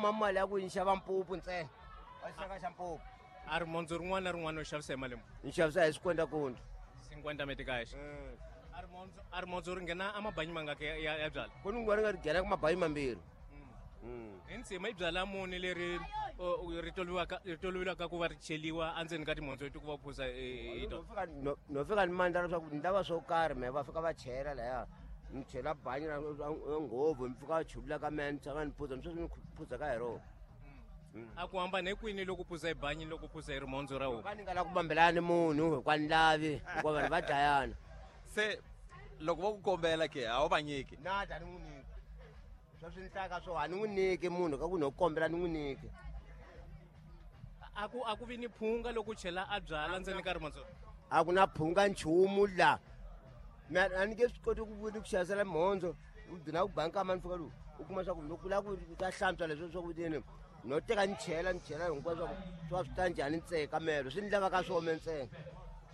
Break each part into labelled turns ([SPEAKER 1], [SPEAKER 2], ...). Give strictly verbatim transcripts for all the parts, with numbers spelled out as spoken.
[SPEAKER 1] kuma mali ya ku ni xava mpupu ntsena a xaka xa mpupu
[SPEAKER 2] a rimhondzo rin'wana na rin'wana u xavisa hi mali muni
[SPEAKER 1] ni xavisa hi swikwenda kundzu
[SPEAKER 2] cinquenta meticais a rimhondzo a rimhondzo ri nghena amabanyi mangaki ya, ya, ya byala
[SPEAKER 1] ku ni ri nga ri nghena ka mabanyi mambirhi
[SPEAKER 2] hi ntsima i byala muni leri o, ri tolovelaka ri tolovelaka ku va ri cheliwa endzeni ka timhondzo leti ku va phuza hi
[SPEAKER 1] no
[SPEAKER 2] tona
[SPEAKER 1] fika no- no fika ni mandla leswaku ni lava swo karhi me va fika va chela laya ni chela banyi ra ra nghovu ni fika va chulula ka mehe ni tshama ni phuza ni sweswi ni phuza ka hi rona
[SPEAKER 2] a ku hambana hi kwini loko phuza hi banyi loko phuza hi rimhondzo ra homu
[SPEAKER 1] ka ni nga la ku bambelani munhu hikuva ni lavi hikuva vanhu va dlayana
[SPEAKER 3] se loko va ku kombela ke a wu va nyiki
[SPEAKER 1] na ta ni n'wi nyiki sweswi ni hlaka swo a ni n'wi nyiki munhu ka ku no kombela ni n'wi nyiki
[SPEAKER 2] a ku a ku vi ni phunga loko u chela a byala ndzeni ka rimhondzo
[SPEAKER 1] a ku na phunga nchumu la me a ni nge swi koti ku ni ku xavisela mhondzo u gcina ku ba nkama ni fika lowu u kuma swa ku loko la ku ta hlantswa leswi swa ku tini no teka ni chela ni chela hinkwaswo swa ku swa swi ta njhani ntsena ka melo swi ni lavaka swo me ntsena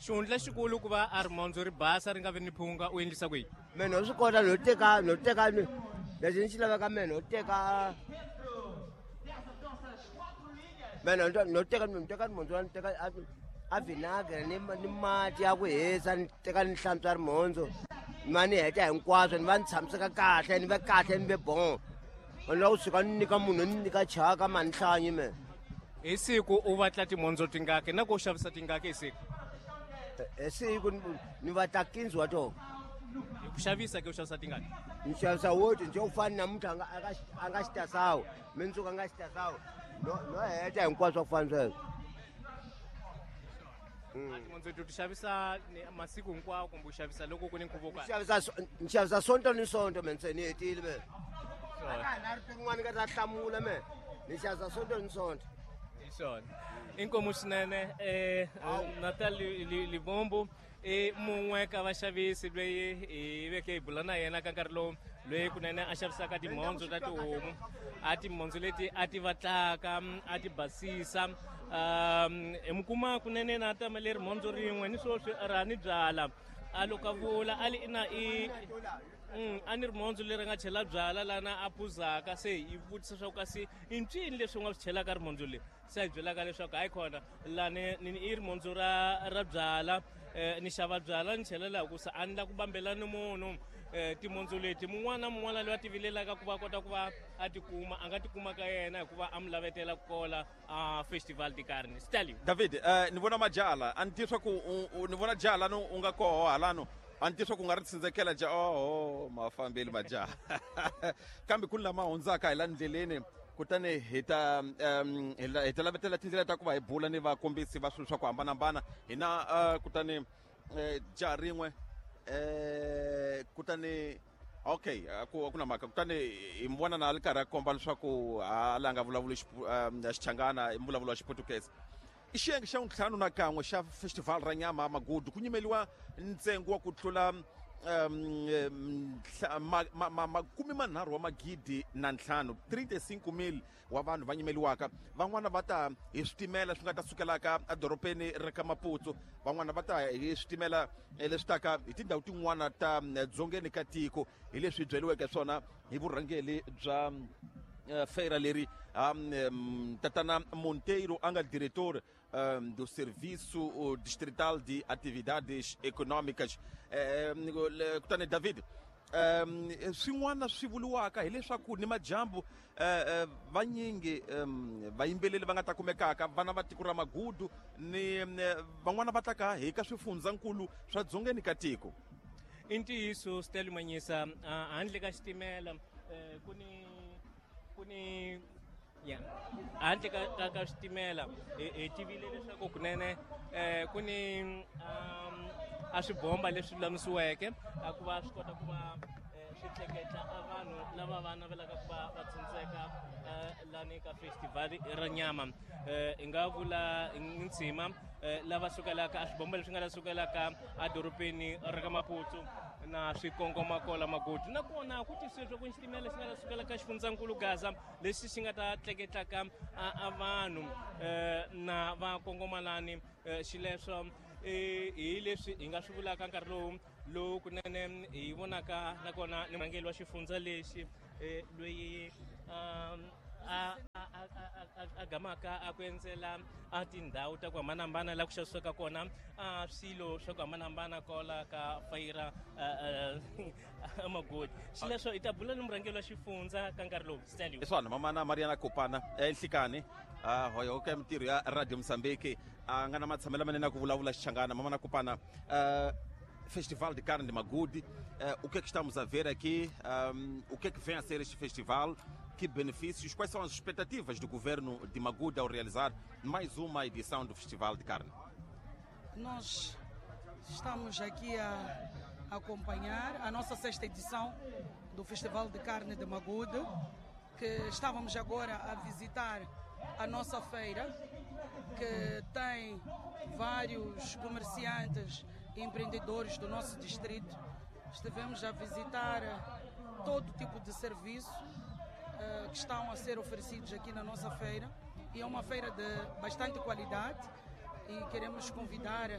[SPEAKER 2] xihundla xikulu ku va a rimhondzo ri basa ri nga vi ni phunga u endlisa ku yini
[SPEAKER 1] me no swi kota no teka no teka ni lexi ni xi lavaka me no teka me no no teka no teka rimhondzo ni teka a- a vinagre ni ni mati ya ku hisa ni teka ni hlantswa rimhondzo ni va ni heta hinkwaswo ni va ni tshamiseka kahle ni ve kahle ni ve bon ni lava kusuka ni nyika munhu ni nyika chaka ma ni hlanyi me
[SPEAKER 2] hi siku u vatla timhondzo tingaki na ku u xavisa tingaki hi siku
[SPEAKER 1] hi siku ni- ni vatla quinze wa tona
[SPEAKER 2] hi ku xavisa ke u xavisa tingaki
[SPEAKER 1] ni xavisa woti nje u fani namuntlha a nga- a nga xi- a nga xitasawu mindzuku a nga xitasawu no no heta hinkwaswo ku fana sweswo
[SPEAKER 2] a timhondzo ti xavisa ni- masiku hinkwawo kumbe u xavisa loko ku ni nkhuvo wo
[SPEAKER 1] Ni
[SPEAKER 2] karhi
[SPEAKER 1] xavisa so- ni xavisa sonto ni sonto me nse ni hetile me a ka ha ri rin'wana ka ta hlamula me ni xavisa sonto ni sonto
[SPEAKER 2] hi swona inkomu swinene um Natal Livombo i mun'we ka vaxavisi loyi hi veke hi bula na yena ka nkarhi lowu loyi kunene a xavisaka timhondzo ta tihomu a timhondzo leti a ti vatlaka a ti basisa um hi mi kuma kunene na tama leri mhondzo rin'we ni swoswi ra ni byala a loko a vula a li ina i Mm, a ni rimhondzo leri nga chela byala lana a phuzaka se hi vutisa swa ku kasi i ncini leswi u nga swi chelaka rimhondzo leri se a hi byelaka leswaku hayi khona lani ni i rimhondzo ra ra byala eh, ni xava byala ni chela laha hikusa a ni la ku bambela ni munhu eh, timhondzo leti mun'wana na mun'wana loyi a tivilelaka ku va a kota ku va a tikuma a nga tikuma ka yena hikuva a mi lavetela ku kola a festival de carne stalio
[SPEAKER 3] david eh, ni vona majala a ni tivi swa ku u- u- ni vona jaha lani u nga koho halano a ni tivi swa ku u nga ri tsindzekela ja oho ma fambeli majaha kambe ku ni lama hundzaka hi la ndleleni kutani hi ta um, hi la- hi ta lavetela tindlela ta ku va hi bula ni vakombisi va swilo swa ku hambanahambana hina uh, kutani eh, jaha rin'we eh, kutani okay a ku a ku na mhaka kutani hi mi vona na a ri karhi a komba leswaku hala a nga vulavuli Xipu- um, xichangana i mbulavulo wa xiputukezi i xiyenge xa ntlhanu na kan'we xa festival ra nyama magudu ku nyimeliwa ntsengo wa ku tlula um, nhla- ma- ma- ma- makume manharhu wa magidi na ntlhanu trinta e cinco mil wa vanhu va nyimeliwaka van'wana va ta hi switimela swi nga ta sukelaka edorobeni ra ka Maputo van'wana va ta hi switimela eh, leswi taka hi tindhawu tin'wana ta mm, dzongeni ka tiko hi leswi byeliweke swona hi vurhangeri bya eh, feira leri um, um, tatana Monteiro a nga diretor um, do Serviço uh, Distrital de Atividades Econômicas eh, le- kutani David um swin'wana swi vuriwaka hileswaku ni majambu eh, eh, vanyingi um, vayimbeleri va nga ta kumekaka vana va tiko ra magudu ni eh, van'wana va taka hi ka swifundzankulu swa dzongeni ka tiko
[SPEAKER 2] i ntiyiso Stalio Manyisa ah, handle ka xitimela eh, ku ni ku ni ya handle ka, ka, ka xitimela hi hi tivile leswaku kunene eh, ku ni um, a swibomba leswi lulamisiweke a ku va swi kota ku va eh, swi tleketla a vanhu lava va navelaka ku va va tsindzeka eh, lani ka festival ra nyama eh, hi nga vula ntshima eh, lava sukelaka a swibomba leswi nga ta sukelaka edorobeni ra ka Maputo na swi kongoma kola Magudu nakona ku tisiwe swa ku xitimela lexi nga ta sukela ka xifundzankulu Gaza lexi xi nga ta tleketlaka a, a vanhu eh, na va kongomalani eh, xileswo eh, hi leswi hi nga swi vulaka nkarhi lowu lowu kunene hi vonaka nakona ni murhangeri wa xifundza lexi eh, loyi um, a a gamaka a ku endzela a tindhawu ta ku hambanahambana laha ku xavisiwaka kona a swilo swa ku hambanahambana kwala ka Feira Magude. Xileswo hi ta bula ni murhangeri wa xifundza ka nkarhi lowu Stanley.
[SPEAKER 3] Swona mamana Mariana Kopana enhlikani uh, hoyo ka mintirho ya Radio Mozambique a nga na matshamelo manene ya ku vulavula Xichangana. Mamana Kopana, uh, Festival de Carne de Magude, uh, o que é que estamos a ver aqui? Um, o que é que vem a ser este festival? Que benefícios? Quais são as expectativas do governo de Magude ao realizar mais uma edição do Festival de Carne?
[SPEAKER 4] Nós estamos aqui a acompanhar a nossa sexta edição do Festival de Carne de Magude, que estávamos agora a visitar a nossa feira, que tem vários comerciantes e empreendedores do nosso distrito. Estivemos a visitar todo tipo de serviço uh, que estão a ser oferecidos aqui na nossa feira, e é uma feira de bastante qualidade, e queremos convidar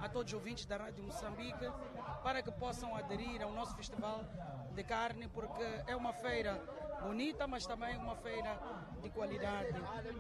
[SPEAKER 4] a todos os ouvintes da Rádio Moçambique para que possam aderir ao nosso Festival de Carne, porque é uma feira bonita, mas também uma feira de qualidade,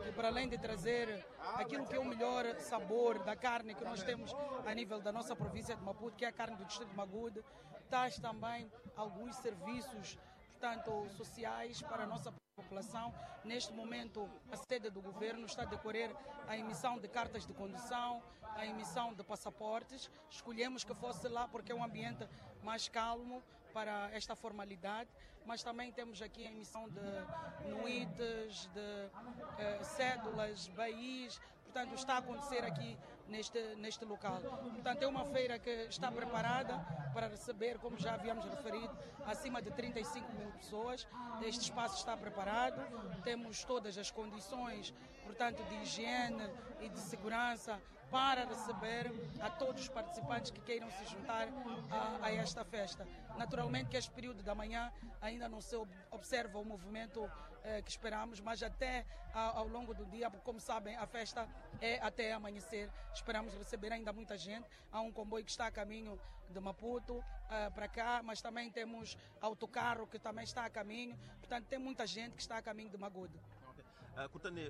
[SPEAKER 4] que para além de trazer aquilo que é o melhor sabor da carne que nós temos a nível da nossa província de Maputo, que é a carne do distrito de Magude, traz também alguns serviços, portanto, sociais para a nossa população. Neste momento, a sede do governo está a decorrer a emissão de cartas de condução, a emissão de passaportes. Escolhemos que fosse lá porque é um ambiente mais calmo para esta formalidade, mas também temos aqui a emissão de nuites, de eh, cédulas, B Is, portanto está a acontecer aqui neste, neste local. Portanto, é uma feira que está preparada para receber, como já havíamos referido, acima de trinta e cinco mil pessoas. Este espaço está preparado, temos todas as condições, portanto, de higiene e de segurança para receber a todos os participantes que queiram se juntar a, a esta festa. Naturalmente que este período da manhã ainda não se observa o movimento eh, que esperamos, mas até a, ao longo do dia, porque como sabem, a festa é até amanhecer, esperamos receber ainda muita gente. Há um comboio que está a caminho de Maputo eh, para cá, mas também temos autocarro que também está a caminho, portanto tem muita gente que está a caminho de Magude.
[SPEAKER 3] Kutani,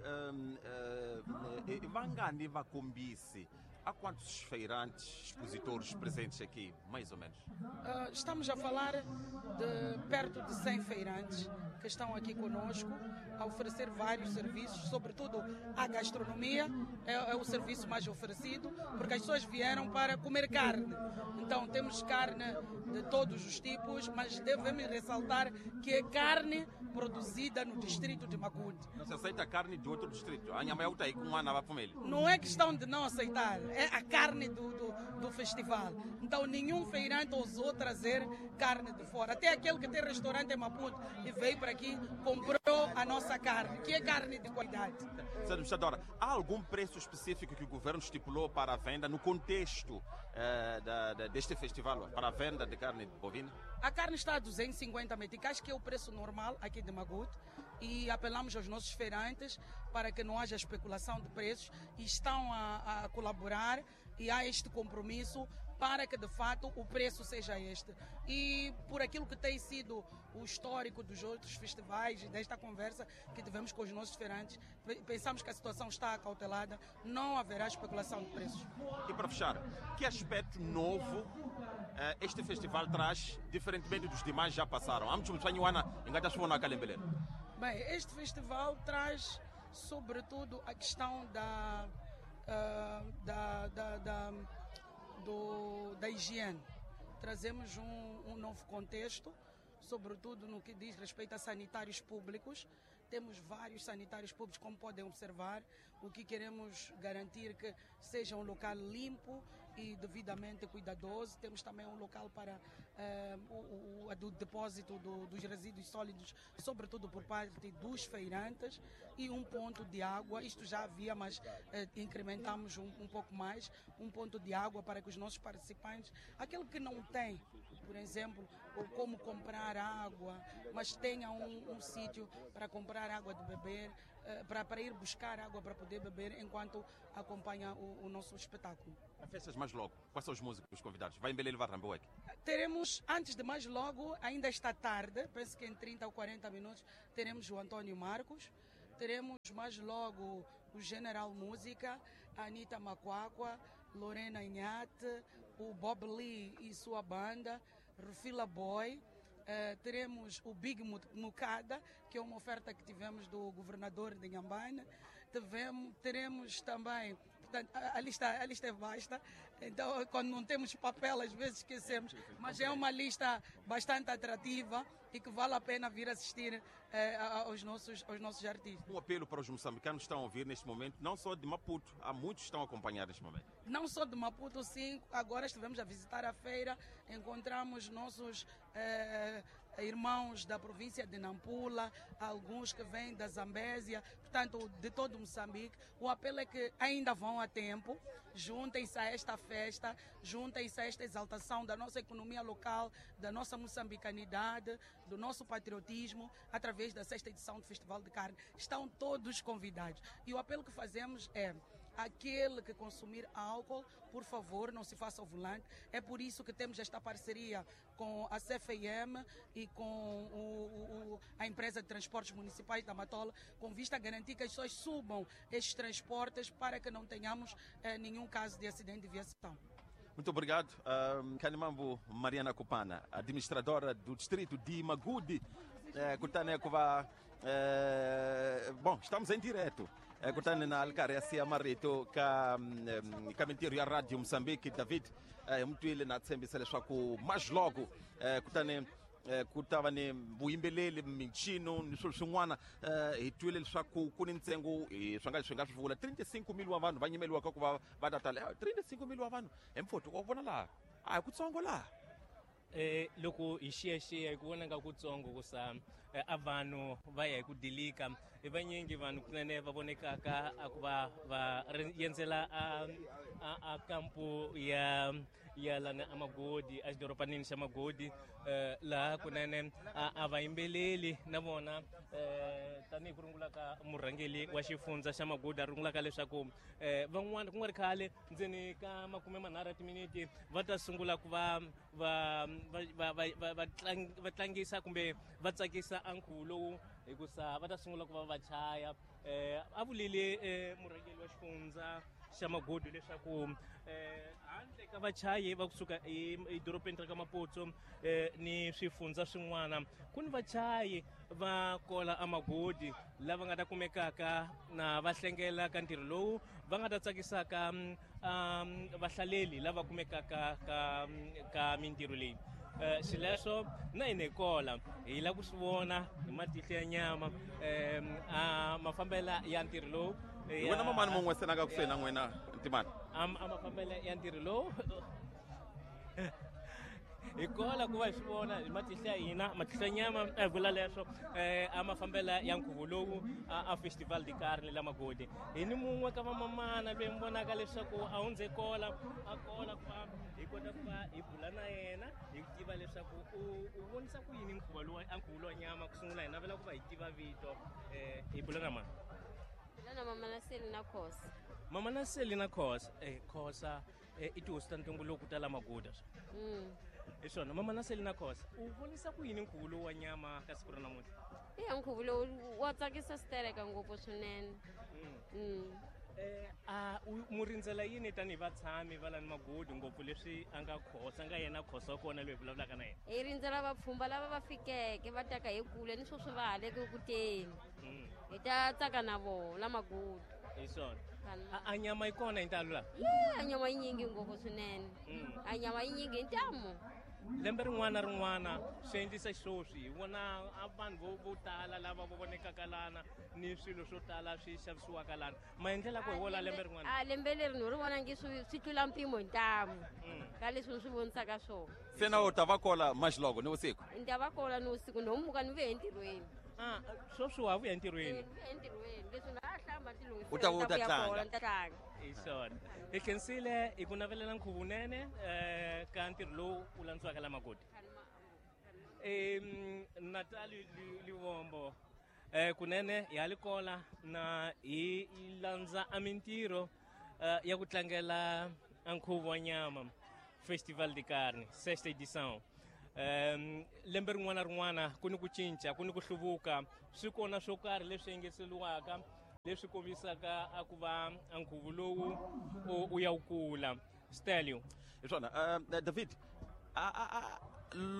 [SPEAKER 3] vangani vakombisi, há quantos feirantes, expositores presentes aqui, mais ou menos?
[SPEAKER 4] Uh, estamos a falar de perto de cem feirantes que estão aqui conosco a oferecer vários serviços, sobretudo a gastronomia é, é o serviço mais oferecido, porque as pessoas vieram para comer carne. Então temos carne de todos os tipos, mas devemos ressaltar que é carne produzida no distrito de Magude.
[SPEAKER 3] Não se aceita carne de outro distrito?
[SPEAKER 4] Não é questão de não aceitar, é a carne do, do, do festival. Então nenhum feirante ousou trazer carne de fora. Até aquele que tem restaurante em Maputo e veio para aqui, comprou a nossa carne, que é carne de qualidade.
[SPEAKER 3] Senhora Administradora, há algum preço específico que o governo estipulou para a venda no contexto eh, da, da, deste festival, para a venda de carne bovina?
[SPEAKER 4] A carne está a duzentos e cinquenta meticais, que é o preço normal aqui de Magude, e apelamos aos nossos feirantes para que não haja especulação de preços, e estão a, a colaborar, e há este compromisso para que de fato o preço seja este. E por aquilo que tem sido o histórico dos outros festivais e desta conversa que tivemos com os nossos feirantes, pensamos que a situação está acautelada, não haverá especulação de preços.
[SPEAKER 3] E para fechar, que aspecto novo este festival traz, diferentemente dos demais já passaram?
[SPEAKER 4] Bem, este festival traz sobretudo a questão da, uh, da, da, da, do, da higiene. Trazemos um, um novo contexto, sobretudo no que diz respeito a sanitários públicos. Temos vários sanitários públicos, como podem observar. O que queremos garantir que seja um local limpo e devidamente cuidadoso. Temos também um local para eh, o, o, o depósito do, dos resíduos sólidos, sobretudo por parte dos feirantes, e um ponto de água. Isto já havia, mas eh, incrementamos um, um pouco mais, um ponto de água para que os nossos participantes, aquele que não tem, por exemplo, ou como comprar água, mas tenha um, um sítio para comprar água de beber, para, para ir buscar água para poder beber enquanto acompanha o, o nosso espetáculo.
[SPEAKER 3] Festas mais logo, quais são os músicos convidados? Vai em Belém levar Ramboek?
[SPEAKER 4] Teremos, antes de mais logo, ainda esta tarde, penso que em trinta ou quarenta minutos, teremos o António Marcos, Teremos mais logo o General Música, a Anitta Macuacua, Lorena Inhate, o Bob Lee e sua banda, Rufila Boy. Uh, teremos o Big Mucada, que é uma oferta que tivemos do governador de Inhambane. Tivemos, teremos também, portanto, a, a, lista, a lista é vasta, então quando não temos papel às vezes esquecemos, mas é uma lista bastante atrativa e que vale a pena vir assistir eh, aos, nossos, aos nossos artistas.
[SPEAKER 3] Um apelo para os moçambicanos que estão a ouvir neste momento, não só de Maputo, há muitos que estão a acompanhar neste momento.
[SPEAKER 4] Não só de Maputo, sim, agora estivemos a visitar a feira, encontramos nossos eh, irmãos da província de Nampula, alguns que vêm da Zambésia, portanto, de todo Moçambique. O apelo é que ainda vão a tempo, juntem-se a esta festa, juntem-se a esta exaltação da nossa economia local, da nossa moçambicanidade, do nosso patriotismo, através da sexta edição do Festival de Carne. Estão todos convidados. E o apelo que fazemos é: aquele que consumir álcool, por favor, não se faça ao volante. É por isso que temos esta parceria com a C F M e com o, o, a empresa de transportes municipais da Matola, com vista a garantir que as pessoas subam estes transportes para que não tenhamos eh, nenhum caso de acidente de viação.
[SPEAKER 3] Muito obrigado, um, Kanimambo Mariana Kupana, administradora do distrito de Magude. Eh, bom, estamos em direto. Kutani na alkaresi ya marito ka ka mintirho ya Radio Moçambique. David mutwile na tshembisa leswaku mais logo kutani ku ta va ni vuyimbeleli, mincino ni swilo swin'wana. Hi twile leswaku ku ni ntsengo swi nga swi nga swi vula trinta e cinco mil wa vanhu va nyimeliwaka ku va va ta tala. trinta e cinco mil wa vanhu hi mfuthu wa vona laha a hi kutsongo laha.
[SPEAKER 2] Eh, loko hi xiyaxiya hi ku vona nga kutsongo ku sa a vanhu va ya hi ku dilika i vanyingi vanhu kunene va vonekaka a ku va va yendzela a a kampu ya ya lana a Magodi, a xidoropanini xa Magodi, laha kunene a va yimbeleli na vona tanihi ku rungula ka murhangeli wa xifundza xa Magodi a rungulaka leswaku van'wana ku nga ri khale ndzeni ka makume manharhu ya timiniti va ta sungula ku va va va va va va tlangisa kumbe va tsakisa a nkhuvo lowu hikusa va ta sungula ku va va chaya. A vulile murhangeli wa xifundza xa Magodi leswaku handle ka vachayi va kusuka edorobeni ra ka Maputo ni swifundza swin'wana ku ni vachayi va kola a Magodi lava nga ta kumekaka na va hlengela ka ntirho lowu va nga ta tsakisaka vahlaleli lava kumekaka ka ka mintirho leyi. Xileswo na hina hi kola hi lava ku swi vona hi matihlo ya nyama a mafambela ya ntirho lowu.
[SPEAKER 3] Wena mamani mun'we se na nga kusuhi na n'wina Ntimani
[SPEAKER 2] a mafambela ya ntirho lowu hi kola ku va hi swi vona hi matihlo ya hina, matihlo ya nyama a hi vula leswo a mafambela ya nkhuvo lowu a Festival de Carne la Magodi. Hi ni mun'we ka vamamana loyi mi vonaka leswaku a hundze kola a kola ku va hi kota ku va hi bula na yena hi tiva leswaku u u vonisa ku yini nkhuvo lowu a nkhuvo lowa nyama. Ku sungula hi navela ku va hi tiva vito, hi bula na mani?
[SPEAKER 5] Na Mama Naselina Khosa.
[SPEAKER 2] Mama Naselina Khosa, eh Khosa i tihosi ta ntumbuluko ta la Maguda.
[SPEAKER 5] Mm.
[SPEAKER 2] Hi swona Mama Naselina Khosa, u vonisa ku yini nkhuvo lowu wa nyama ka siku ra namuntlha?
[SPEAKER 5] Iya, nkhuvo lowu wa tsakisa switereka ngopfu swinene.
[SPEAKER 2] Mm. Eh a mu rindzela yini tanihi vatshami va lani Magodi ngopfu leswi a nga Khosa nga yena Khosa wa kona loyi hi vulavulaka na yena?
[SPEAKER 5] Hi rindzela vapfhumba lava va fikeke va taka hi kule ni sweswi va ha le ku teni. Hi ta tsaka na vona la Magodi.
[SPEAKER 2] Hi swona. A nyama yi kona hi ntalo laha?
[SPEAKER 5] Ye, a nyama yi nyingi ngopfu swinene. A nyama yi nyingi hi ntamu.
[SPEAKER 2] Lembe rin'wana na rin'wana swi endlisa xisweswi hi vona a vanhu vo vo tala lava vo vonekaka lana ni swilo swo tala swi xavisiwaka lana. Maendlelo ku hi wona lembe rin'wana?
[SPEAKER 5] A lembe leri ni ri vona nge swi swi tlula mpimo hi ntamu ka leswi ni swi vonisaka swona.
[SPEAKER 3] Se na u ta va kola maxiloko ni vusiku?
[SPEAKER 5] Ni ta va kola ni vusiku, ni homuka ni vuya entirhweni.
[SPEAKER 2] Ah, sweswi wa vuya entirhweni?
[SPEAKER 5] Ni vuya entirhweni, leswi na ha hlamba
[SPEAKER 3] U ta u ta tlanga.
[SPEAKER 5] Ni ta tlanga.
[SPEAKER 2] Hi swona. Hi khensile hi ku navelela nkhuvo wunene ka ntirho lowu wu landziwaka la Magodi. Natali Livombo, kunene hi ha li kola na hi landza a mintirho ya ku tlangela a nkhuvo wa nyama Festival de Carne, sexta edição. um lembe rin'wana rin'wana ku ni ku cinca ku ni ku hluvuka swi kona swo karhi leswi engeteriwaka leswi kombisaka a ku va nkhuvo lowu u ya wu kula Stelio
[SPEAKER 3] hi swona uh, David a, a, a,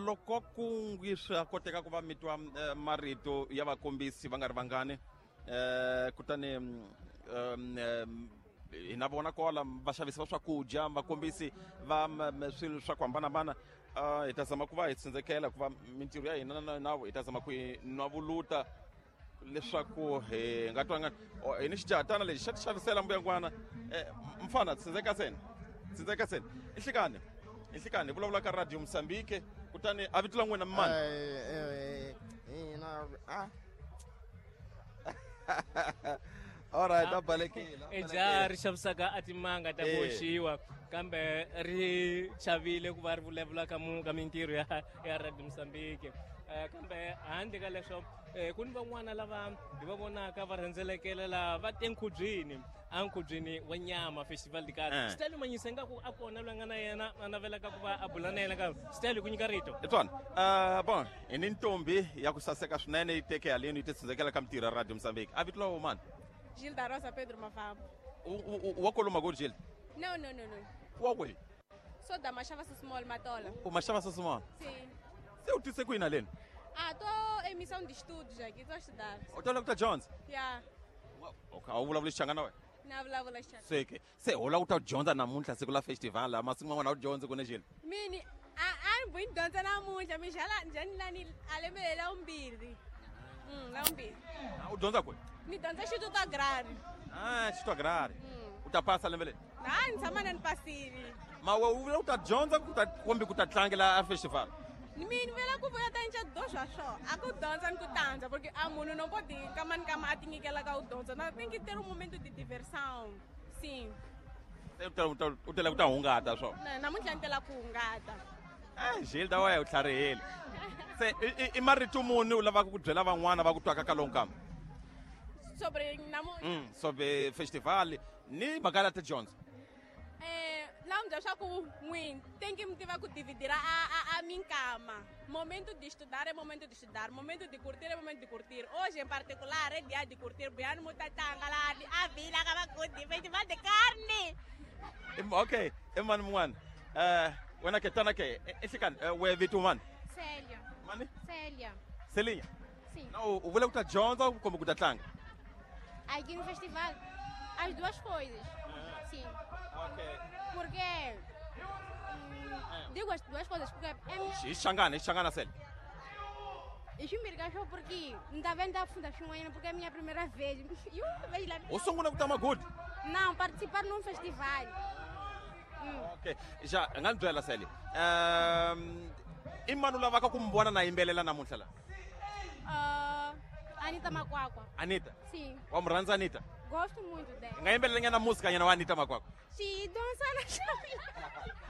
[SPEAKER 3] loko ku ngi swa koteka ku va mi twa uh, marito ya vakombisi va nga ri vangani uh, kutani um, um, hi na vona kwala vaxavisi va swakudya vakombisi va swilo swa ku hambanahambana uh, hi ta zama ku va hi tsindzekela ku va mintirho ya hina na navo hi ta zama ku hi nwavuluta leswaku hi nga twanga hi ni xijahatana lexi xa ti xavisela mbuyangwana mfana tsindzeka seni tsindzeka seni i nhlikani i nhlikani hi vulavula ka Radio Mozambique kutani a vito la n'wina mani alright a balekile
[SPEAKER 2] i jaha ri xavisaka a timanga ta ku hoxiwa kambe ri chavile ku va ri vulavula ka ka mintirho ya ya Radio Mozambique kambe handle ka leswo ku ni van'wana lava hi va vonaka va rhendzelekela laha va te nkhubyeni a nkhubyeni wa nyama festival de carne Stelio Manyisa ingaku a kona loyi a nga na yena a navelaka ku va a bula na yena kambe Stelio ku nyika rito
[SPEAKER 3] hi swona uh, bon hi ni ntombi ya ku saseka swinene yi teke haleni yi ti tsindzekela ka mintirho ya Radio Mozambique a vito la mani
[SPEAKER 6] Gilda Rosa Pedro Mavambo.
[SPEAKER 3] Wa kwalomu ko Gilda?
[SPEAKER 6] Não, não, não, não.
[SPEAKER 3] Wa kwihi?
[SPEAKER 6] Sou da Machava Small Matola.
[SPEAKER 3] U Machava Small?
[SPEAKER 6] Sim.
[SPEAKER 3] Se u tise kwini haleni?
[SPEAKER 6] Ah, tô em missão de estudos aqui, tô a estudar.
[SPEAKER 3] U ta lava ku ta dyondza?
[SPEAKER 6] Yeah.
[SPEAKER 3] Okay, a wu vulavuli Xichangana wena?
[SPEAKER 6] Na vulavula Xichangana.
[SPEAKER 3] Se ke, se u lava ku ta dyondza namuntlha siku la festival la masiku man'wana a wu dyondzi ku ne Gilda?
[SPEAKER 6] Mini, a a ni vuyi dyondza namuntlha, mi xala njhani lani a lembe lela vumbirhi. Mm, la vumbirhi.
[SPEAKER 3] U dyondza kwihi?
[SPEAKER 6] Ni dyondza Instituto Agrário.
[SPEAKER 3] Ah, Instituto Agrário. U ta pasa lembe leri?
[SPEAKER 6] Na, ni tshama na ni pasile.
[SPEAKER 3] Ma we u vula u ta dyondza ku ta kumbe ku ta tlangela a festival?
[SPEAKER 6] Mina vela ku vuya ta nca do swa swo. A ku dyondza ni ku tandza porque a munhu no pode nkama ni nkama a ti nyikela ka u dyondza. Na tem que ter um momento de diversão. Sim.
[SPEAKER 3] Se u ta u tela ku ta hungata swo.
[SPEAKER 6] Na namuntlha ni tela ku hungata.
[SPEAKER 3] Eh, Gilda wa u tlharihile. Se i marito muni u lavaka ku byela van'wana va ku twaka ka lowu nkama?
[SPEAKER 6] Sobre namuntlha.
[SPEAKER 3] Mm, sobre festival ni mhaka ya tidyondzo.
[SPEAKER 6] Eh, la mi byela swa ku n'wini tem que mi tiva ku dividira a a a minkama. Momento de estudar é momento de estudar, momento de curtir é momento de curtir. Hoje em particular é dia de curtir, buyani mutatanga la a vila ka va festival de carne.
[SPEAKER 3] Okay, i mani mun'wana? Eh, wena ke tana ke i nhlikani we vito mani?
[SPEAKER 7] Célia.
[SPEAKER 3] Mani?
[SPEAKER 7] Célia.
[SPEAKER 3] Celinha?
[SPEAKER 7] Sim.
[SPEAKER 3] Na u vula ku ta dyondza kumbe ku ta tlanga?
[SPEAKER 7] Aqui no festival, as duas coisas. Sim.
[SPEAKER 3] Ok.
[SPEAKER 7] Porque hum, digo as duas coisas porque é minha.
[SPEAKER 3] Xichangana, xichangana Célia.
[SPEAKER 7] I swimbirhi ka swo porque ni ta va ni ta funda swin'wanyana porque é minha primeira vez. E uma vez lá.
[SPEAKER 3] U sungula ku ta Magude?
[SPEAKER 7] Não, participar num festival. Hum.
[SPEAKER 3] Ok. Já nga ni byela Célia. Um, i mani u lavaka ku mi vona na yimbelela namuntlha la?
[SPEAKER 7] Uh, Anita Makwakwa.
[SPEAKER 3] Anita?
[SPEAKER 7] Sim.
[SPEAKER 3] Wa mu rhandza Anita?
[SPEAKER 7] Gosto muito dela.
[SPEAKER 3] Nga yimbelela nyana música nyana wa Anita Makwakwa.
[SPEAKER 7] Sim, dança na chave.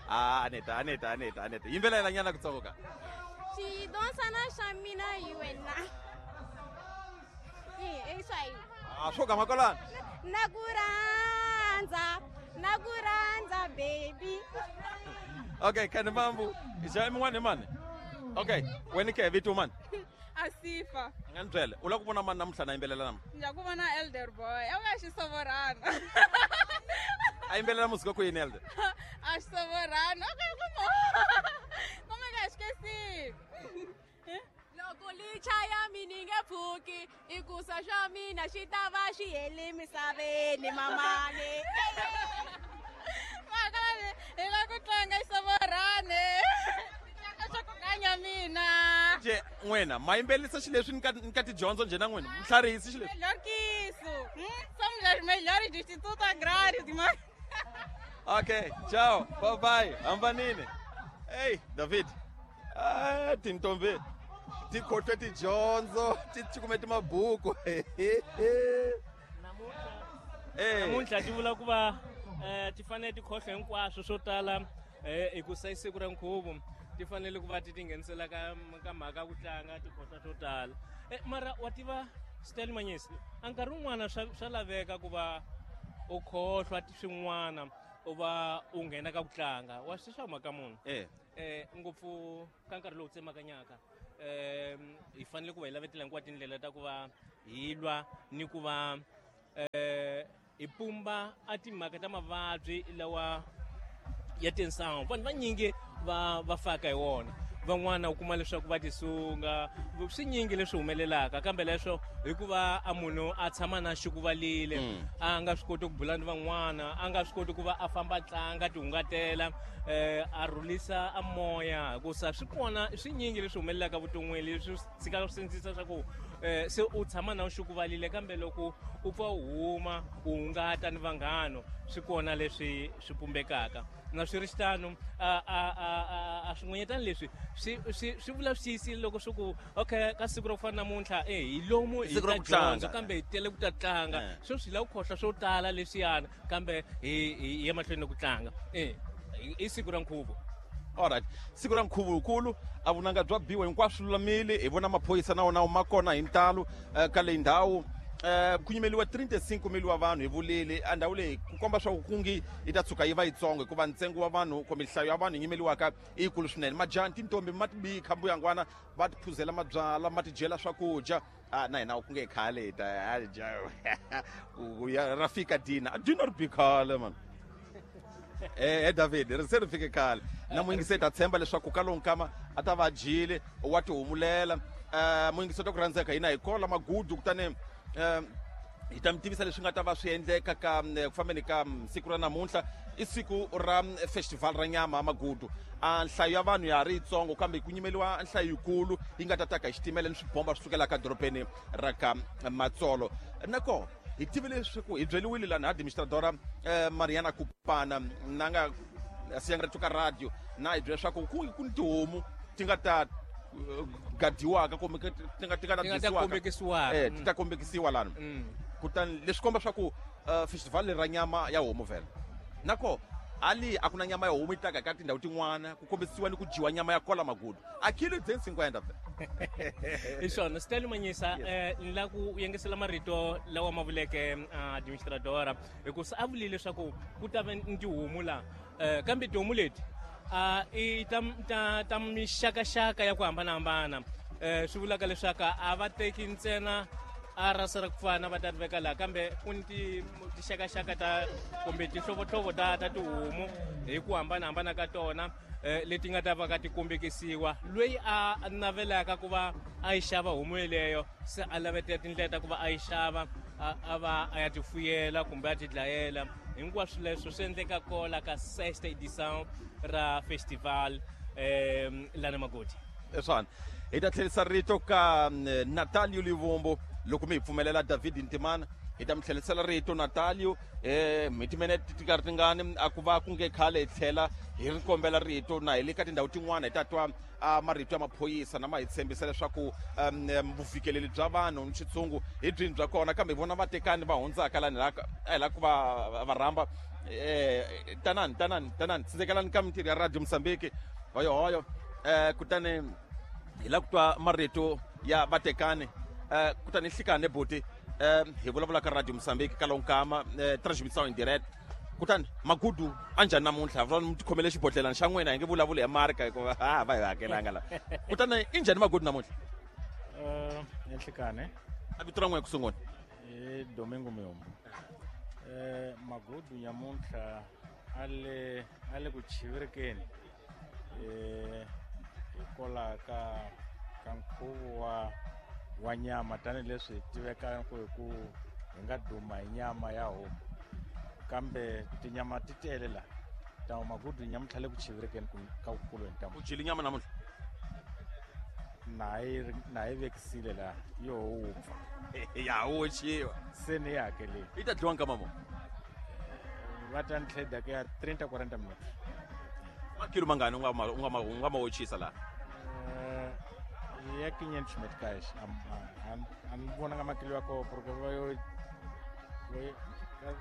[SPEAKER 3] Ah, Anita, Anita, Anita, Anita. Yimbelela nyana kutsongo ka.
[SPEAKER 7] Sim, dança na chamina e wena. Sim, é isso aí.
[SPEAKER 3] Ah, swo gama kwalano.
[SPEAKER 7] Na kuranza, na kuranza baby.
[SPEAKER 3] Okay, kani mambu. Ja min'wana mani? Okay, wena ke vito mani?
[SPEAKER 6] Asifa.
[SPEAKER 3] Nga ni byela, u lava ku vona mani namuntlha na yimbelela namuntlha?
[SPEAKER 6] Ni lava ku vona Elder Boy. A va xisovorana.
[SPEAKER 3] A yimbelela musika ku yini Elder?
[SPEAKER 6] A xisovorana. Okay, como? Como é que esqueci? Loko li chaya mina yi nge pfuki, i ku sa swa mina xi ta va xi hele misaveni mamani. Maka hi lava ku tlanga xisovorana. Tlanga swa ku kanya mina.
[SPEAKER 3] Nje n'wina ma yimbelisa xileswi ni ka ni ka tidyondzo njhe na n'wina mi tlharihisi xileswi?
[SPEAKER 6] Melhor que isso. Hum? Somos as melhores do Instituto Agrário de Magude.
[SPEAKER 3] Okay, tchau. Bye bye. Hambanini. Hey, David. Ah, tintombi. Ti khotwe tidyondzo, ti cukumete mabuku.
[SPEAKER 2] Namuntlha ti vula ku va eh ti fanele ti khohlwa hinkwaswo swo tala eh hi ku sa siku ra nkhuvo ti fanele ku va ti tinghenisela ka ka mhaka ku tlanga ti khohlwa swo tala. Eh mara wa tiva Stel Manyisi, a nkarhi wun'wana swa swa laveka ku va u khohlwa swin'wana u va u nghena ka ku tlanga wa swi swa mhaka munhu.
[SPEAKER 3] Eh.
[SPEAKER 2] eh ngopfu ka nkarhi lowu tsemakanyaka um hi fanele ku va hi lavetela hinkwato tindlela ta ku va hi lwa ni ku va eh hi pumba a timhaka ta mavabyi lawa ya tinsangu. Vanhu vanyingi va va faka hi wona, van'wana u kuma leswaku va tisunga, swinyingi leswi humelelaka, kambe leswo hikuva a munhu a tshama na xikuvalile, a nga swi koti ku bula ni van'wana, a nga swi koti ku va a famba tlanga tihungatela, eh a rhulisa a moya, hikusa swi kona swinyingi leswi humelelaka vuton'wini leswi tshikaka swi sindzisa swa ku eh se u tshama na xikuvalile, kambe loko u pfa u huma u hungata ni vanghano swi kona leswi swi pumbekaka. Na swi ri xitano a a a a swin'wanyetana leswi swi swi swi vula swi tiyisile loko swi ku okay ka siku ra ku fana namuntlha eh hi lomu hi ta dyondza kambe hi tele ku ta tlanga, sweswi hi lava ku khohlwa swo tala leswiyana kambe hi hi ya mahlweni ku tlanga. Eh i siku ra nkhuvo.
[SPEAKER 3] Alright, siku ra nkhuvo wukulu a vunanga bya biwa hinkwaswo lulamile, hi vona maphorisa na wona ma kona hi ntalo ka leyi ndhawu. Eh ku nyimeliwa thirty-five mil wa vanhu hi vulile a ndhawu leyi ku komba swa ku kungi yi ta tshuka yi va yitsongo hikuva ntsengo wa vanhu kumbe nhlayo ya vanhu yi nyimeliwaka i yikulu swinene. Majaha tintombi ma tibikha mbuyangwana va ti phuzela mabyala ma ti dyela swakudya. Ah na hina ku nge khale hi ta dya ra fika dina dina ri bi khale man. Eh David ri se ri fike khale na muyingiseri ta tshemba leswaku ka lowu nkama a ta va dyile wa tihumulela. Eh muyingiseri ta ku rhandzeka hina hi kola magudu kutani um hi ta mi tivisa leswi nga ta va swi endleka ka ku fambeni ka siku ra namuntlha. I siku ra festival ra nyama magudu. A nhlayo ya vanhu ya ha ri yitsongo kambe ku nyimeliwa nhlayo yikulu yi nga ta taka hi xitimela ni swibomba swi sukelaka dorobeni ra ka Matsolo. Nako hi tive leswaku hi byeliwile lani administradora Mariana Kupana na nga siyanga rito ka radio na hi byela leswaku ku ku ni tihomu ti nga ta gadiwaka kumbe ti nga ti nga ta
[SPEAKER 2] kombekisiwaka
[SPEAKER 3] eh ti ta kombekisiwa lana. Kutani leswi komba swa ku festival leri ra nyama ya homu vhela nako ali a ku na nyama ya homu yi taka ka tindhawu tin'wana ku kombisiwa ni ku dyiwa nyama ya kola magudu a kilo ten cinquenta.
[SPEAKER 2] Hi swona Stanley Manyisa, eh ni la ku yengesela marito lawa ma vuleke administradora hikusa a vulile leswaku ku ta va ni tihomu la, kambe tihomu leti a i ta ta ta mixakaxaka ya ku hambanahambana. Eh swi vulaka leswaku a va teki ntsena a rasa ra ku fana va ta ri veka laha, kambe ku ni tixakaxaka ta kumbe tinhlovohlovo ta ta tihomu hi ku hambanahambana ka tona leti nga ta va ka ti kombekisiwa. Loyi a navelaka ku va a yi xava homu yeleyo se a lavetela tindlela ta ku va a yi xava a va a ya ti fuyela kumbe a ti dlayela. Hinkwaswo leswo swi endleka kola ka sexta edição ra festival um lana Magodi.
[SPEAKER 3] Eswana hi ta tlherisa rito ka Natalio Livombo loko mi hi pfumelela David Ntimana hi ta mi tlherisela rito Natalio eh hi timinete ti karhi tingani a ku va ku nge khale hi tlhela hi ri kombela rito na hi le ka tindhawu tin'wana hi ta twa marito ya maphorisa na ma hi tshembisa leswaku vufikeleli bya vanhu ni xitshungu hi byini bya kona, kambe hi vona vatekani va hundzaka lani a hi lava ku va va rhamba. Eh tanani tanani tanani tsindzekelani ka mintirho ya Radio Mozambique hoyohoyo. Eh kutani hi lava ku twa marito ya vatekani. Eh kutani hlikane buti eh hi vulavula ka Radio Mozambique ka lonkama transmission en direct. Kutani magudu a njhani namuntlha va mi tikhomele xibodlelana xa n'wina hi nge vulavuli hi marka hikuva a va hi hakelanga la. Kutani i njhani magudu namuntlha?
[SPEAKER 8] Eh nhlikane
[SPEAKER 3] a vito ra n'wina ku sungula?
[SPEAKER 8] I Domingo Muyombo. Eh magudu nyamuntlha a le a le ku chivirikeni eh hikwalaho ka ka nkhuvo wa wa nyama tanihileswi hi tivekaka ku hi ku hi nga duma hi nyama ya homu, kambe tinyama ti tele la ta magudu nyamuntlha le ku chivirikeni ka kukulu hi ntamu.
[SPEAKER 3] U dyile nyama namuntlha?
[SPEAKER 8] Na yi na yi vekisile la yo wupfa
[SPEAKER 3] ya oxiwa
[SPEAKER 8] se ni yi hakelile.
[SPEAKER 3] Yi ta dyiwa nkama mo
[SPEAKER 8] va ta ni tlheda ku ya thirty quaranta minutes.
[SPEAKER 3] Makilo mangani u nga ma u nga ma u nga ma ochisa la?
[SPEAKER 8] Ya quinhentos meticais. A ni vonanga makilo ya koho porque va yo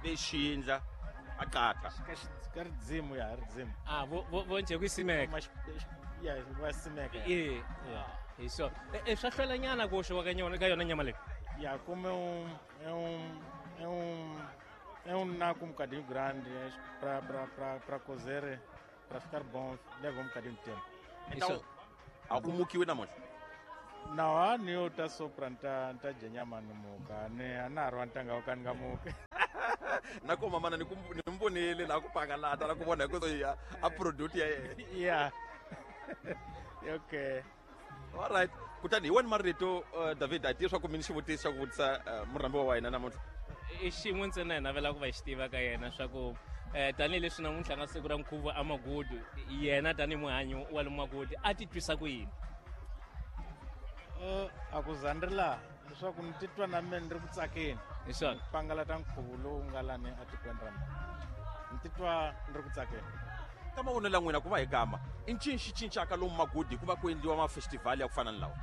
[SPEAKER 3] vexindla a qatha
[SPEAKER 8] ka ridzimu ya ridzimu.
[SPEAKER 2] Ah vo vo nje ku simeka
[SPEAKER 8] ya va simeka
[SPEAKER 2] eh hi so e swa hlwelanyana ku oxiwa ka yona ka yona nyama leyi
[SPEAKER 8] ya como é um é um é um é um naco um bocadinho grande para para para para cozer Para ficar bom, leva um bocadinho de tempo.
[SPEAKER 3] Então, a ku mukiwi namuntlha?
[SPEAKER 8] Não, a ni yo ta sopra nta nta dya nyama ni muka ni a na ha ri wa ntanga wo ka ni nga muki.
[SPEAKER 3] Na ko mamana ni ku ni mi vonile laha ku pangalata la ku vona hi ku ya a product ya yena.
[SPEAKER 8] Yeah. Okay.
[SPEAKER 3] All right. Kutani hi wena marito uh, David a tivi swa ku mi ni xivutiso xa ku vutisa uh, murhambiwa wa hina namuntlha.
[SPEAKER 2] I xin'we ntsena hi navela ku va xi tiva ka yena swa ku um tanihileswi namuntlha nga siku ra nkhuvo a Magudu, yena tanihi muhanyi wa le Magudu a titwisa ku yini?
[SPEAKER 8] Uh, a ku za ni ri laha leswaku ni titwa na mina ni ri ku tsakeni.
[SPEAKER 2] Hi swona.
[SPEAKER 8] Pangalata nkhuvo lowu nga lani etikweni ra mina. Ni titwa ni ri ku tsakeni.
[SPEAKER 3] Ka mavonelo ya n'wina ku va hi gama i ncini xi cincaka lomu Magudu hikuva ku endliwa mafestivhali ya ku fana ni lawa?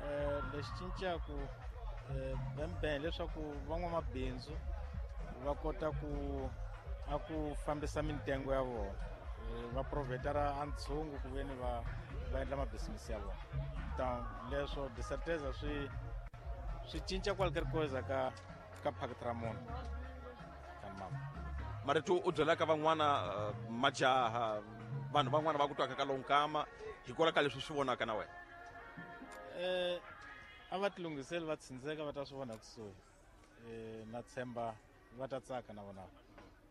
[SPEAKER 8] Um lexi cincaku um bembe leswaku van'wamabindzu va kota ku a ku fambisa mintengo ya vona, va provhetara a ntshungu ku veni va va endla mabisinisi ya vona. Então leswo de certeza swi swi cinca qualquer coisa ka ka phaketi ra munhu. Mama
[SPEAKER 3] marito u byelaka van'wana uh, majaha vanhu van'wana va ku twaka ka lonkama hikwalaho ka leswi swi vonaka na wena?
[SPEAKER 8] Eh a va tilunghiseli va tsindzeka va ta swi vona kusuhi. Eh na tshemba va ta tsaka na vona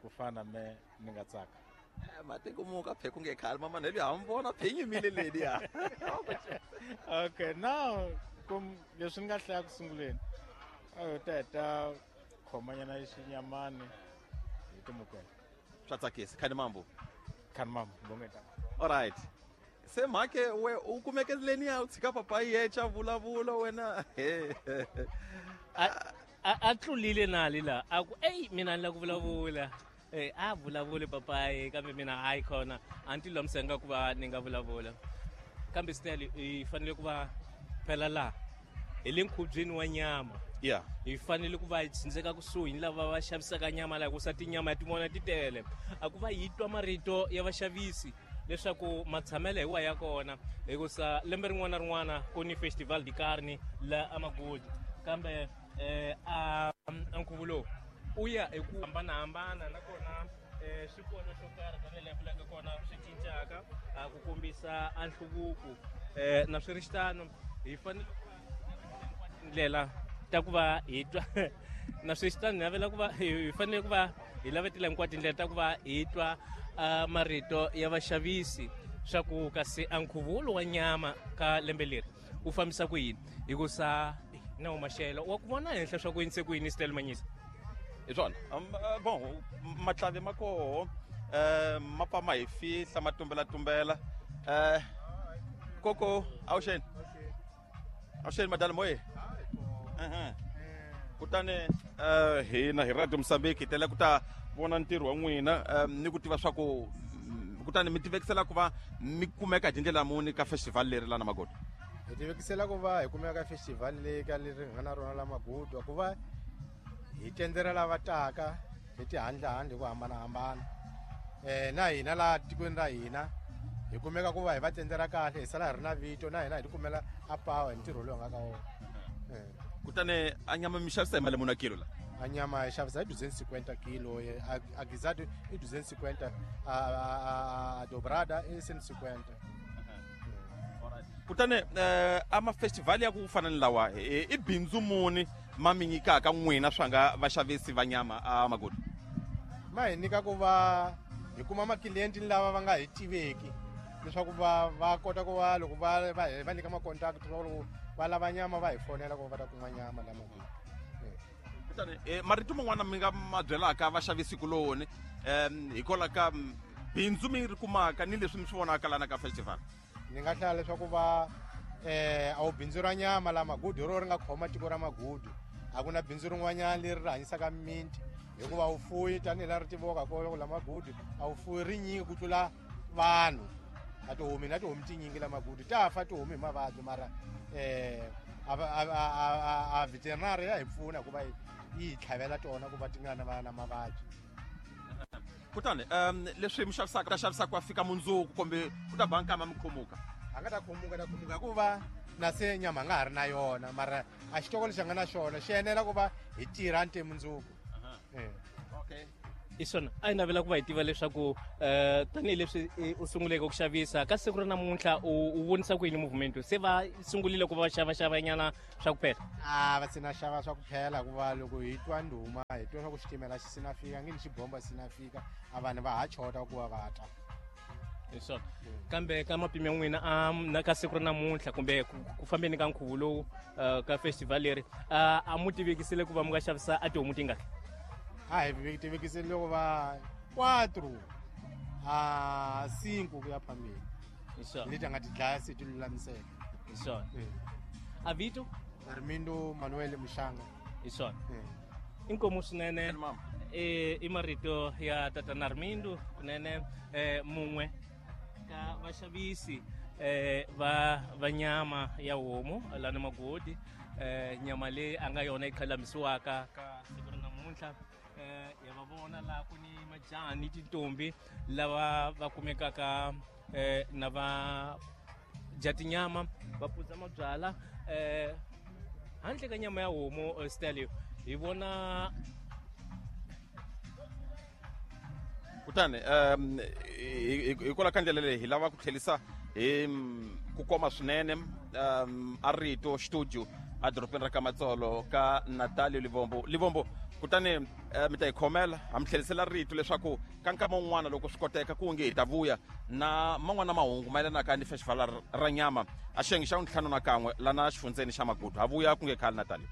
[SPEAKER 8] ku fana me ni nga tsaka.
[SPEAKER 3] Matiko muka phe ku nge khale mama neli ha mi vona phe yimile leli ya.
[SPEAKER 8] Okay, now kum leswi ni nga hlaya ku sunguleni a yo ta heta khomanyana xinyamani hi timukela.
[SPEAKER 3] Swa tsakisa khani mambo.
[SPEAKER 8] Khani mambo bongeta.
[SPEAKER 3] All right. Se mhake we u kumeke leni ya u tshika papa yecha vulavula wena.
[SPEAKER 2] A a tlulile nali la a ku ey mina ni la ku vulavula. Eh a vulavule papayi kambe mina hayi khona a ni ti lulamisanga ku va ni nga vulavula. Kambe still hi fanele ku va phela laha hi le nkhubyeni wa nyama.
[SPEAKER 3] Yeah.
[SPEAKER 2] Hi fanele ku va hi tsindzeka kusuhi ni lava va xavisaka nyama laha hikusa tinyama ya tin'wana ti tele. A ku va hi twa marito ya vaxavisi leswaku matshamelo hi wa ya kona hikusa lembe rin'wana na rin'wana ku ni festival de carne la Amagudu. Kambe eh a nkhuvo lowu u ya hi ku hambanahambana nakona eh swi kona xo karhi tanihi laha vulaka kona swi cincaka a ku kombisa a nhluvuko. Eh na swi ri xitano hi fanele ndlela ta ku va hi twa na swi xitano navela ku va hi fanele ku va hi lavetela hinkwato tindlela ta ku va hi twa marito ya vaxavisi swa ku kasi a nkhuvo wa nyama ka lembe leri u fambisa ku yini hikusa na maxelo wa ku vona henhla swa ku yini se ku yini Stella Manyisa.
[SPEAKER 3] Hi swona bon matlavi ma koho um ma pfa ma hi fihla ma tumbelatumbela. Um koko awuxeni awuxeni madala moye. Kutani um hina hi Radio Mozambique hi tele ku ta vona ntirho wa n'wina um ni ku tiva swa ku kutani mi tivekisela ku va mi kumeka hi tindlela muni ka festival leri la na Magudu?
[SPEAKER 9] Hi tivekisela ku va hi kumeka ka festival leyi ka leri hi nga na rona la Magudu ku va hi tendzela lava taka hi tihandlahandla hi ku hambanahambana. Eh na hina laha tikweni ra hina hi kumeka ku va hi va tendzela kahle hi sala hi ri na vito na hina hi tikumela a power hi ntirho lowu hi nga ka wona.
[SPEAKER 3] Kutani a nyama mi xavisa hi mali muni a kilo la?
[SPEAKER 9] A nyama hi xavisa hi duzentos e cinquenta kilo, a guisado i duzentos e cinquenta, a a dobrada i cento e cinquenta.
[SPEAKER 3] Kutani a mafestival ya ku fana ni lawa i bindzu muni ma mi nyikaka n'wina swa nga vaxavisi va nyama a Magudu?
[SPEAKER 9] Ma hi nyika ku va hi kuma maklienti lava va nga hi tiveki leswaku va va kota ku va loko va va va nyika ma-contact va loko va lava nyama va hi fonela ku va ta kuma nyama la Magudu.
[SPEAKER 3] Kutani marito man'wana mi nga ma byelaka vaxavisi kuloni um hikwalaho ka bindzu mi ri kumaka ni leswi mi swi vonaka lana ka festival?
[SPEAKER 9] Ni nga hlaya leswaku va eh a wu bindzu ra nyama la Magudu hi ro ri nga khoma tiko ra Magudu. A ku na bindzu rin'wanyana leri ri hanyisaka mimiti hikuva wu fuyi tanihi laha ri tiviwaka kona la Magudu a wu fuyi rinyingi ku tlula vanhu. A tihomu na tihomu tinyingi la Magudu ta fa tihomu hi mavabyi mara eh a a a veterinary ya hi pfuna ku va yi hi tlhavela tona ku va ti nga na na mavabyi.
[SPEAKER 3] Kutani um leswi mi xavisaka ta xavisaka ku fika mundzuku kumbe ku ta ba nkama mi khomuka?
[SPEAKER 9] A nga ta khomuka ta khomuka hikuva na se nyama a nga ha ri na yona mara a xitoko lexi a nga na xona xi enela ku va hi tirha nte mundzuku.
[SPEAKER 3] Okay.
[SPEAKER 2] I swona a hi navela ku va hi tiva leswaku um tanihileswi u sunguleke ku xavisa ka siku ra namuntlha u u vonisa ku yini movement se va sungurile ku va va xavaxavanyana swa ku phela
[SPEAKER 9] a va sina xava swa ku phela hikuva loko hi twa ndhuma hi twa swa ku xitimela xi sina fika nge ni xibomba xi sina fika a vanhu va ha chota ku va va ta
[SPEAKER 2] hi swona kambe ka mapimo ya n'wina a na ka siku ra namuntlha kumbe ku fambeni ka nkhuvo lowu ka festival leri a mu tivekisile ku va mu nga xavisa a tihomu tingaki
[SPEAKER 9] a hi tivekisile loko va quatro a cinco ku ya phambili
[SPEAKER 2] hi swona
[SPEAKER 9] leti a nga ti dlaya se ti lulamiseka
[SPEAKER 2] hi swona a vito
[SPEAKER 9] Armindo Manuel Mushanga
[SPEAKER 2] hi swona inkomu swinene i marito ya tatana Armindo kunene mun'we ka vaxavisi eh va va nyama ya homu lana Magodi eh nyama leyi a nga yona yi khalamisiwaka ka siku ra namuntlha eh ya va vona laha ku ni majaha ni tintombi lava va kumekaka eh na va dya tinyama va phuza mabyala eh handle ka nyama ya homu Stalio hi vona
[SPEAKER 3] kutani um hikwalaho ka ndlela leyi hi lava ku tlherisa hi ku koma swinene um a rito studio a dorobeni ra ka Matsolo ka Natalio Livombo Livombo kutani mi ta hi khomela ha mi tlherisela rito leswaku ka nkama wun'wana loko swi koteka ku nge hi ta vuya na man'wana mahungu mayelanaka ni festival ra nyama a xiyenge xa ntlhanu na kan'we lana xifundzeni xa Magudu ha vuya ku nge khale Natalio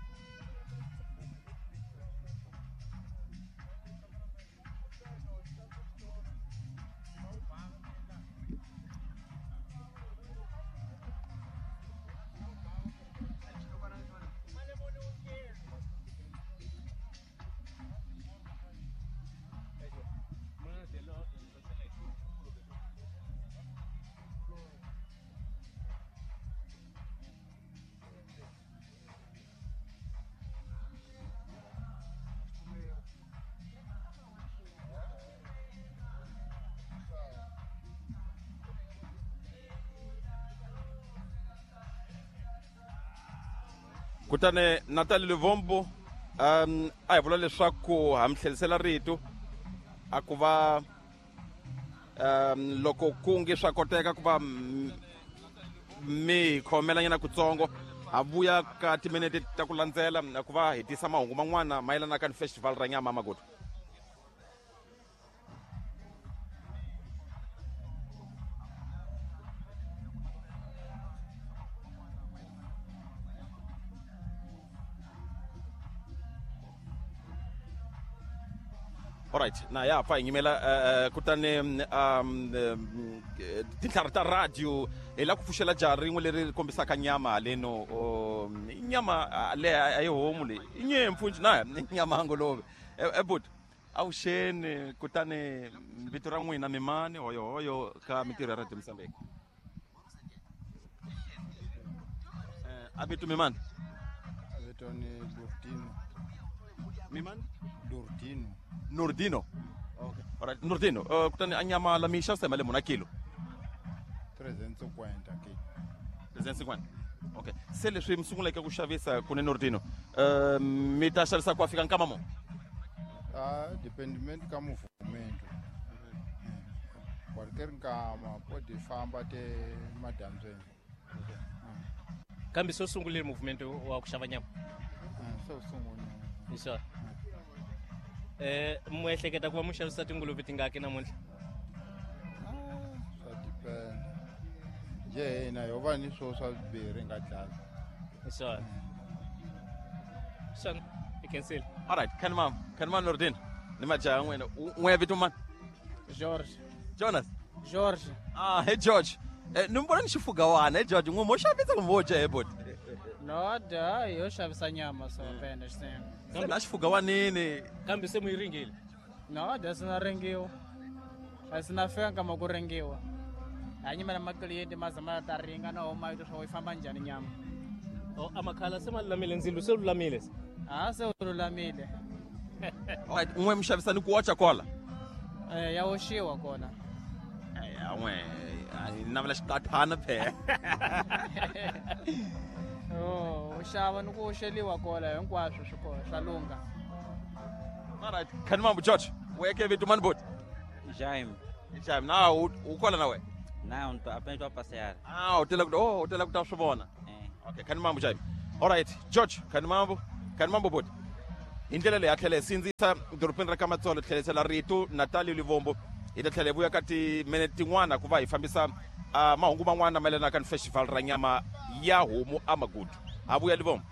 [SPEAKER 3] Kutani Natalio Livombo um a hi vula leswaku ha mi tlherisela rito a ku va um loko ku nge swa koteka ku va mi hi khomelanyana kutsongo ha vuya ka timinete ta ku landzela ku va hi tisa mahungu man'wana mayelanaka ni festival ra nyama Magudu Alright, na ya pfa hi nyimela uh, kutani um tintlhari ta radio hi lava ku pfuxela jaha rin'we leri kombisaka nyama haleno um, nyama le a yi homu leyi i nyimpfu njhe na nyama ya nguluve ebut avuxeni kutani vito ra n'wina mimani hoyohoyo ka mintirho ya Radio Mozambique a vito mimani
[SPEAKER 10] vito ni Nurdino
[SPEAKER 3] mimani
[SPEAKER 10] Nurdino
[SPEAKER 3] Nurdino. Okay. Alright, Nurdino, uh, kutani a nyama la mi xavisa hi mali muni a kilo?
[SPEAKER 10] trezentos e cinquenta kilo.
[SPEAKER 3] trezentos e cinquenta. Okay. Se leswi mi sunguleke ku xavisa kune Nurdino, uh, mi ta xavisa ku fika nkama mo?
[SPEAKER 10] Ah, dependimento ka movimento. Qualquer nkama pode famba até madyambyeni.
[SPEAKER 2] Okay. Kambe se u sungurile movimento wa ku xava nyama?
[SPEAKER 10] Se u sungurile.
[SPEAKER 2] Hi swona. Eh mu ehleketa ku va mu xavisa tinguluve tingaki namuntlha?
[SPEAKER 10] Swa depend. Njhe hina ho va ni swo swa swimbirhi nga dlaya.
[SPEAKER 2] Hi swona. Swona, i cancel.
[SPEAKER 3] Alright, kan mam, kan mam Nurdin. Ni majaha n'wina. N'we vito mani?
[SPEAKER 11] George.
[SPEAKER 3] Jonas.
[SPEAKER 11] George.
[SPEAKER 3] Ah, hey George. Eh ni mbona ni xifugawana hey George, n'we mo xavisa kumbe wo dya he boti?
[SPEAKER 11] No, da, yo xavisa nyama so penda xinene.
[SPEAKER 3] Se la xifugawanini.
[SPEAKER 2] Kambe se mu yi ringile?
[SPEAKER 11] No, da sina ringiwa. A sina fika nkama ku ringiwa. A nyimela maklienti ma zama ta ringa na homa yi swa yi famba njhani nyama.
[SPEAKER 2] Oh, amakhala se ma lulamile ndzilo se lulamile se.
[SPEAKER 11] Ah, se lulamile.
[SPEAKER 3] Alright, n'we mi xavisa ni ku ocha kwala?
[SPEAKER 11] Eh, ya oxiwa kona.
[SPEAKER 3] Eh, n'we a navela xiqathana phela.
[SPEAKER 11] Oh, u xava ni ku oxeliwa kona hinkwaswo swi kona swa lungha.
[SPEAKER 3] Alright, kan mambo George. Weke vito mani boti?
[SPEAKER 12] Jaime.
[SPEAKER 3] Jaime, na u u kwala na wena?
[SPEAKER 12] Não, tô, apenas estou a passear.
[SPEAKER 3] Ah, u tela ku oh, u tela ku ta swi vona. Okay, khani mambo Jaime. All right, George, khani mambo, khani mambo boti. Hi ndlela leyi a tlhela hi sindzisa dorobeni ra ka Matsolo tlherisela rito Natalie Livombo hi ta tlhela hi vuya ka timinete tin'wana ku va hi fambisa uh, mahungu man'wana mayelanaka ni festival ra nyama ya homu a Magudu. Ha vuya Livombo.